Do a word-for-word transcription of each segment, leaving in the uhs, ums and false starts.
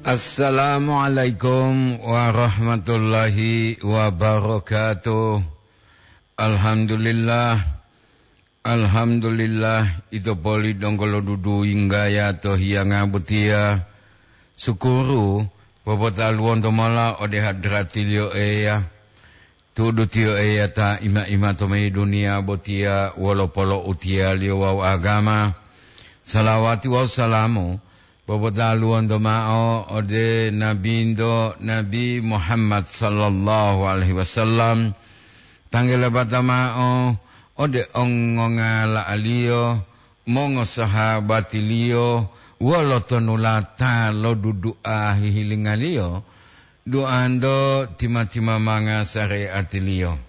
Assalamualaikum warahmatullahi wabarakatuh. Alhamdulillah. Alhamdulillah, ito poli donggo lo dudu yinggaya to hiyanga botiya. Sukuru, popotaluwonto mola ode hadratiliyo Eya. Tu'udu tiyo Eya ta ima-ima to mayi duniya botiya wolo polo'utiyaliyo wawu agama. Salawati wawu salamu popotaluwonto ma'o ode Nabinto, Nabi Muhammad sallallahu alaihi wasallam. Tanggelabata ma'o ode ongongala'aliyo, mongosahabatiliyo, wolo tonulata lo dudu'a hihilingaliyo, duanto tima-timamanga sare'atiliyo.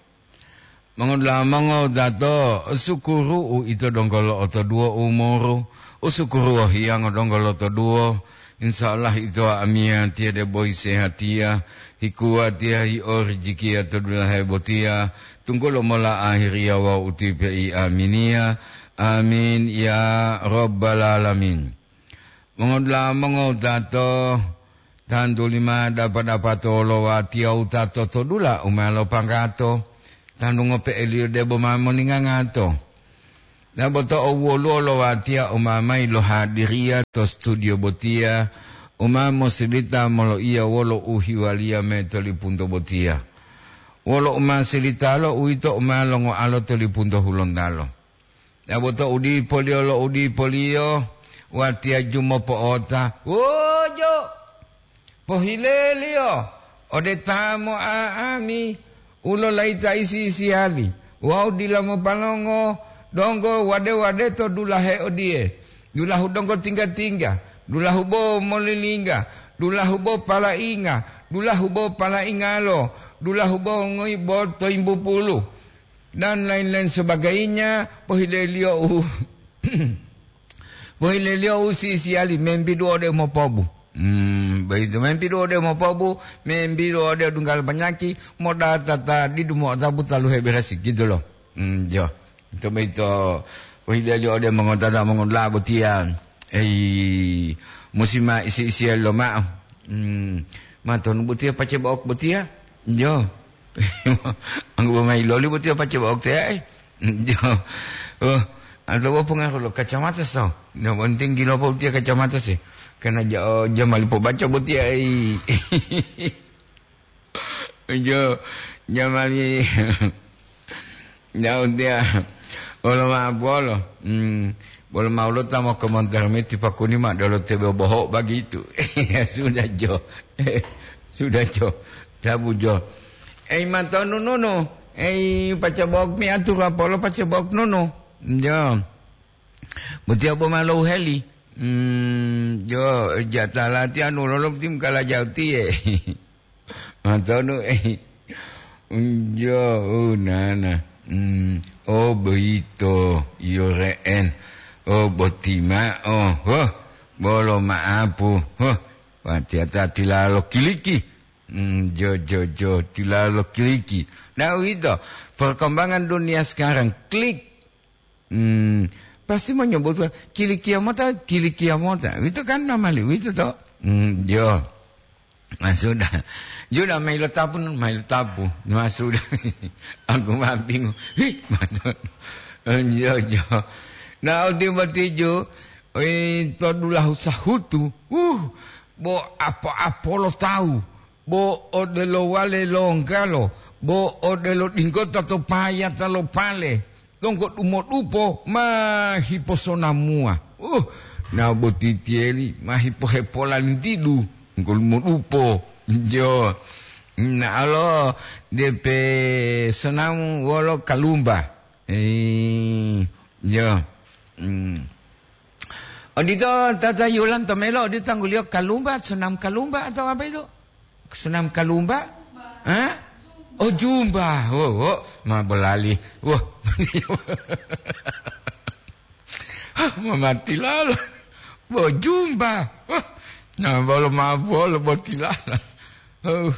Mongodula'a mongowutato, sukuru uito donggo lo'otoduwo umuru, usukuru wohiyango donggo lotoduwo. Insya Allah ito amiyatiya debo hisehatiya, hikuwatiya, hiorijikiya to dulahe botiya, tunggulo mola ahiriya wawu utipe'i aminiya. Amin ya rabbal alamin. Mongodula'a mongowutato, tantu lima dapa-dapato lo watiya wutato to dula u ma lopanggato, tantu ngope'eliyo debo ma moningangato. Dabo to owoluwo lo watiya u ma mayi lohadiriya to studio botiya, u ma mosilita moloiya wolo uhiwaliya mayi to lipunto botiya. Wolo u ma silitalo uwito u ma longoalo to lipunto hulontalo. Dabo to udipoliyo lo udipoliyo, watiya jumopo'ota, "Wujo! Pohileliyo ode ta mo'a'ami u lolayita isi-isiyali wawu dila mopalongo donggo wade-wade to dulahe odiye, dulahu donggo tingga-tingga, dulahu bo molilingga, dulahu bo palainga, dulahu bo palaingalo, dulahu bo ngoibo to yimbupulu." Dan lain-lain sebagainya, pohileliyo u, pohileliyo u sisiyali, membidu ode mopobu. Hmm, begitu, membidu ode mopobu, membidu ode dunggal panyaki, modata ta didu mo'otapu taluhe beresi, gitu loh. Hmm, jo. Itu begitu, pohileliyo ode mongotata mongola botiya. Ei, musi ma isi-isiyali loma'o. Hmm, matonu botiya pace bo'ok botiya? Jo. Anggubo mayi loli boti apa coba waktu ya, eh? Jo. Oh, atau apa pengaruh lo kacamata so? Yang penting gila apa utia kacamata sih? Karena ja-, oh, jamali po baca boti ya, eh. Jo, jamali. Ya utia. Olo ma bolo. Hmm. Bolo ma ulo tamo komentar meti pakuni ma dolo tebe boho bagitu. Ya sudah jo. Sudah jo. Sabu jo. Ei, mantonu nunu. Ei, pacabok mi atur apolo pacabok nunu. Jo. Buti abo malo heli. Hmm, jo, jatala ti anu lolok tim kala jauti, eh. Mantonu, eh. Jo, oh, nana. Hmm, oh, boyito, iyo re'en. Oh, boti ma'o. Huh, bolo ma'apu. Huh, watiata tilalo kiliki. Hmm, jo, jo, jo, tilalo kiliki. Nah, uwito, perkembangan dunia sekarang, klik. Hmm, pasti menyebutkan, "Kilikia mota, kilikia mota." Uwito kan namali, uwito to? Hmm, jo. Nah, sudah. Sudah, mailo tapu, mailo tapu. Nah, sudah. Aku mah bingung. Hih, mata. Jo, jo. Nah, odi batijo, eh, to dulahu sahutu. Uh, bo apo-apo lo tawu. Bo odelo wale longgalo, bo odelo dinggota to payata lo pale, donggo dumodupo ma hiposonamuwa. Uh, na botitiyeli ma hipohepolantidu, donggo dumodupo. Jo, na alo depe sonamu wolo kalumba. Eh, jo. Hmm. Odito tata Yulan to melo, odito tangguliyo kalumba, senam kalumba atau apa itu? Senam kalumba? Hah? Oh, jumba. Oh, oh, ma bolali. Wah. Hah, ma mati lalo. Bo jumba. Wah. Nah, bolo ma bolo botilala. Oh.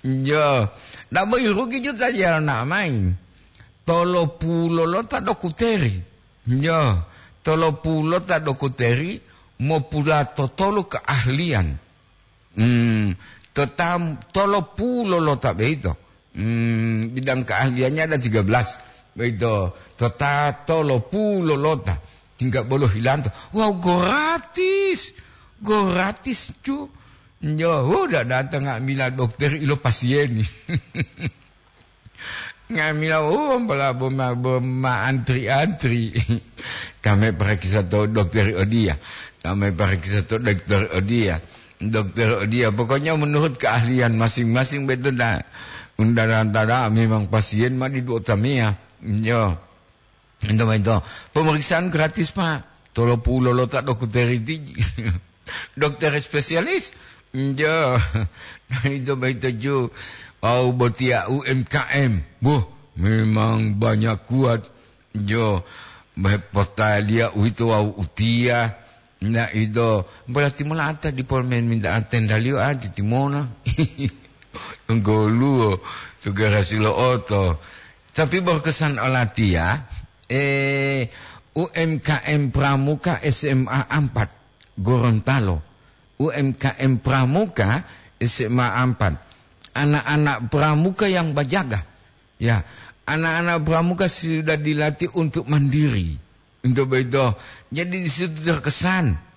Jo. Ndak bo irugi juta ya na main. Tolo pulo lo ta dokuteri. Jo, tolopulota dokoteri mopulatotolu keahlian. Hmm, to ta tolopulo lota beito. Hmm, bidang keahliannya ada tiga belas. Beito, to ta tolopulo lota. Tinggal bolo hilanto. Wow, gratis. Gratis, cu. Yo, udah datang nga'amila dokter ilo pasieni. Nga'amila, oh, ampala boma, boma antri-antri. Kame parakisa to dokter odia. Kame parakisa to dokter odia. Dokter odia. Pokoknya menurut keahlian masing-masing betul dah. Undang-undang memang pasien mah di dua tamia. Yo. Ento, ento. Pemeriksaan gratis, Pak. Tolopulo lota dokter iti. Dokter spesialis. Njo. Nah, itu baik tuju. Wau botia U M K M. Buh, memang banyak kuat. Jo, potalia uito wau utia. Nah, itu berarti mulata di polmen minta tendalio adi timona. Goluo, tugarasi lo oto. Tapi berkesan olatia, eh, U M K M Pramuka S M A empat, Gorontalo. U M K M Pramuka S M A empat. Anak-anak Pramuka yang bajaga. Ya, anak-anak Pramuka sudah dilatih untuk mandiri. Untuk begitu, jadi di situ terkesan.